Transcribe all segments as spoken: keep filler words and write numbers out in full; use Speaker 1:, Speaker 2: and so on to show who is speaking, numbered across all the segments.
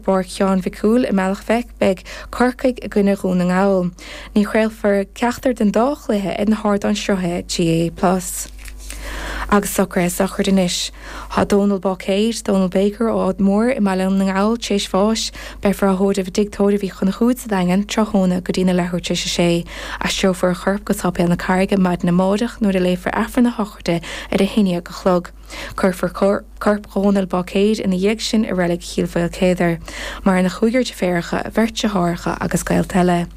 Speaker 1: bPáirc Sheáin Mhic Cumhaill i mBealach Féich beidh Corcaigh i gcoinne Dhún na nGall. Ní chraolfar ceachtar den dá chluiche ar na hardáin sruthaithe GAA Plus. Agus socruithe sochraide anois. Tá Dónal Báicéid, Dónal Baker ó Ard Mór i mBaile na nGall tar éis bháis, beifear á thórramh i dTigh Tórraimh Uí Chonchúir sa Daingean tráthnóna go dtína leathuair tar éis a sé. Aistreofar a chorp go Séipéal na Carraige maidin amárach nuair a léifear Aifreann na sochraide ar a haon déag a chlog. Cuirfear corp Dhónal Báicéid ina dhiaidh sin i reilig Chill Mhaoilchéadair. Maireann a chúigear deirfiúracha, beirt deartháireacha agus gaolta eile.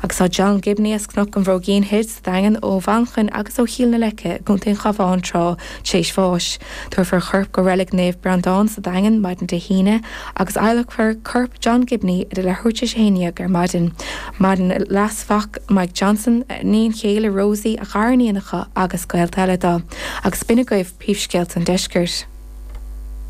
Speaker 1: Agus tá John Gibney as Cnoc an Bhróigín Thoir sa Daingean ó Mhanchain agus ó Chill na Leice gContae an Chabháin tráth tar éis bháis. Tabharfar a chorp go reilig Naomh Breandán sa Daingean maidin Dé hAoine agus adhlacfar corp John Gibney ar a leathuair tar éis a haon déag ar maidin. Maireann a leasmhac Mike Johnson, iníon chéile Rosie a ghariníonacha agus gaolta eile dó, agus b'in agaibh príomhscéalta an deiscirt.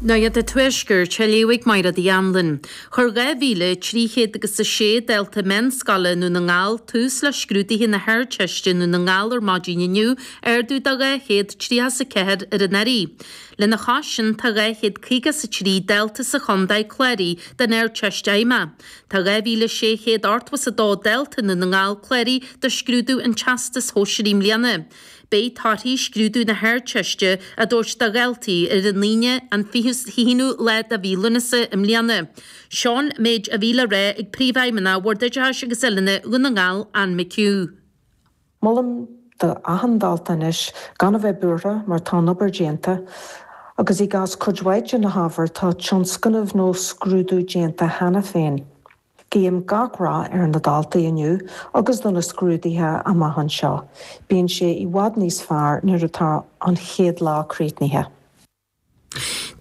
Speaker 2: Nuacht an Tuaiscirt á léamh ag Máire Uí Anluain. Chuir dhá mhíle trí chéad agus a sé dalta meánscoile i nDún na nGall tús le scrúduithe na hArdteiste i nDún na nGall ar maidin inniu, ardú de dhá chéad tríocha is a ceathair ar anuraidh. Lena chois sin tá dhá chéad caoga is a trí dalta sa chontae cláraithe don Ardteist Fheidhmeach. Tá dhá mhíle sé chéad ochtó is a dó dalta i nDún na nGall cláraithe do scrúdú an Teastais Shóisearaigh i mbliana. Beidh torthaí scrúdú na hArdteiste á dtabhairt do dhaltaí ar an Aoine an fiche haonú lá de mhí Lúnasa i mbliana. Seo an méid a bhí le rá ag Príomhfheidhmeannach Bhord Oideachais agus Oiliúna Dhún na nGall, Ann McHugh.
Speaker 3: Molaim do achan dalta anois gan a bheith buartha mar tá an obair déanta, agus i gcás cuid mhaith de na hábhair tá tionscnamh nó scrúdú déanta cheana féin. Guím gach rath ar na daltaí inniu agus do na scrúduithe amach anseo. Bíonn sé i bhfad níos fearr nuair atá an chéad lá críochnaithe.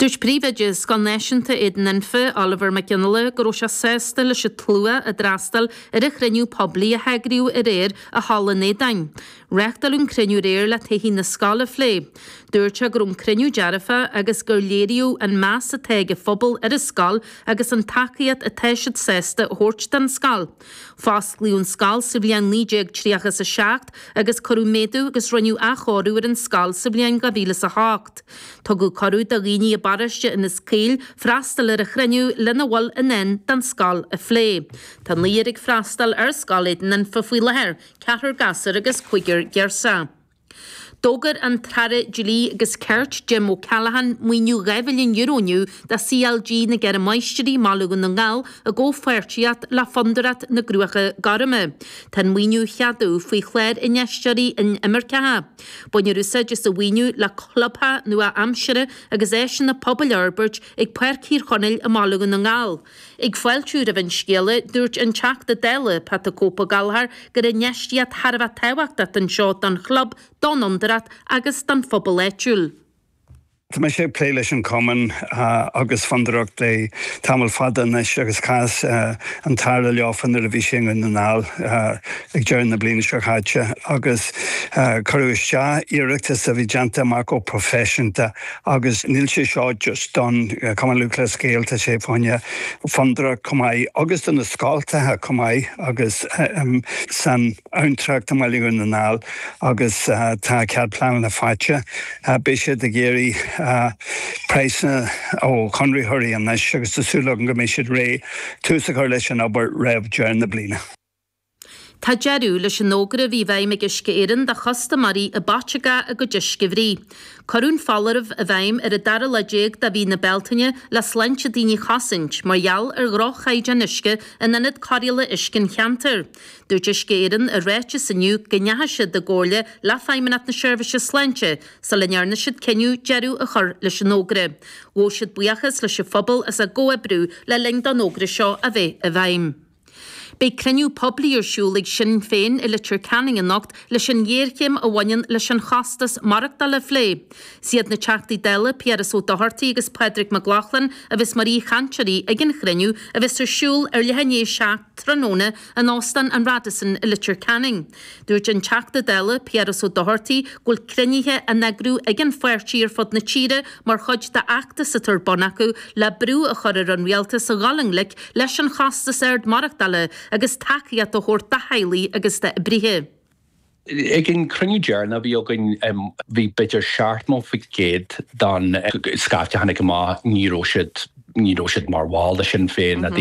Speaker 2: Dúirt príomhoide Scoil Náisiúnta Éadan Anfa, Oliver Mac Fhionnghaile, go raibh sé sásta leis an tslua a d'fhreastail ar an chruinniú poiblí a heagraíodh aréir i Halla an Aodáin. Reáchtáladh an cruinniú aréir le todhchaí na scoile a phlé. Dúirt sé go raibh an cruinniú dearfach agus gur léiríodh an meas atá ag an phobal ar an scoil agus an tacaíocht atá siad sásta a thabhairt don scoil. Fosclaíodh an scoil sa bhliain naoi déag tríocha is a seacht agus cuireadh méadú agus rinneadh athchóiriú ar an scoil sa bhliain dhá mhíle is a hocht. Tugadh cuireadh do dhaoine i bparóiste Inis Caoil freastal ar an chruinniú lena bhfuil i ndán don scoil a phlé. Tá naonúr ag freastal ar Scoil Éadan Anfa faoi láthair, ceathrar gasúr agus cúigear girseach. D'fhógair an tAire Dlí agus Cirt Jim O'Callaghan maoiniú dhá mhilliún euro inniu do CLG na gCeithre Máistrí i mBaile Dhún na nGall i gcomhpháirtíocht le Fondúireacht na gCruacha Gorma. Tá an maoiniú á cheadú faoi chlár infheisteoirí inimirceacha. Bainfear úsáid as an mhaoiniú le clubtheach nua-aimseartha agus áiseanna pobail a fhorbairt ag Páirc Thír Chonaill i mBaile Dhún na nGall. Ag fáiltiú roimh an scéala, dúirt an Teachta Dála, Pat the Cope Gallagher, gur infheistíocht thar a bheith tábhachtach anseo don chlub, don fhondúireacht agus don phobal áitiúil.
Speaker 4: Tá mise ag plé leis an cumann agus fondúireacht le tamall fada anois agus chas an tAire leofa nuair a bhí sé i nDún na nGall ag deireadh na bliana seo caite agus cuireadh isteach iarratas a bhí déanta amach go proifisiúnta agus níl sé seo just don Cumann Lúthchleas Gael tá sé fá choinne fondúireacht chomh maith agus do na scoltacha chomh maith agus san abhantrach i mBaile Dhún na nGall agus tá cead pleanála faighte. Beidh siad ag iarraidh praghsanna ó chonraitheoirí anois agus tá súil agam go mbeidh siad réidh tús a chur leis an obair roimh deireadh na bliana.
Speaker 2: Tá deireadh leis an fhógra a bhí i bhfeidhm ag Uisce Éireann do chustaiméirí a b'aiteacha a gcuid uisce a bhruith. Cuireadh an foláireamh i bhfeidhm ar an dara lá déag de mhí na Bealtaine le sláinte daoine a chosaint mar gheall ar dhroch-chaighdeán uisce in ionad cóireála uisce an cheantair. Dúirt Uisce Éireann i ráiteas inniu go ndeachaigh siad i gcomhairle le Feidhmeannacht na Seirbhíse Sláinte sula ndearna siad cinneadh deireadh a chur leis an fhógra. Ghabh siad buíochas leis an phobal as a gcomhoibriú le linn don fhógra seo a bheith i bhfeidhm. Beidh cruinniú poiblí ar siúl ag Sinn Féin i Leitir Ceanainn anocht leis an ghéarchéim a bhaineann leis an chostas maireachtála a phlé. Is iad na Teachtaí Dála Piaras Ó Dochartaigh agus Pádraig Mac Lochlainn a bheas mar aoichainteoirí ag an chruinniú a bheas ar siúl ar leath i ndiaidh a seacht tráthnóna in Óstán an Radisson i Leitir Ceanainn. Dúirt an Teachta Dála Piaras Ó Dochartaigh go bhfuil cruinnithe á n-eagrú ag an pháirtí ar fud na tíre mar chuid d'fheachtas atá ar bun acu le brú a chur ar an rialtas a dhul i ngleic leis an chostas ard maireachtála agus tacaíocht a thabhairt do theaghlaigh agus d'oibrithe.
Speaker 5: Ag an cruinniú deireanach a bhí againn bhí b'fhéidir seachtó faoin gcéad den scaifte a tháinig amach ní raibh siad ní raibh siad mar bhall de Sinn Féin na daoine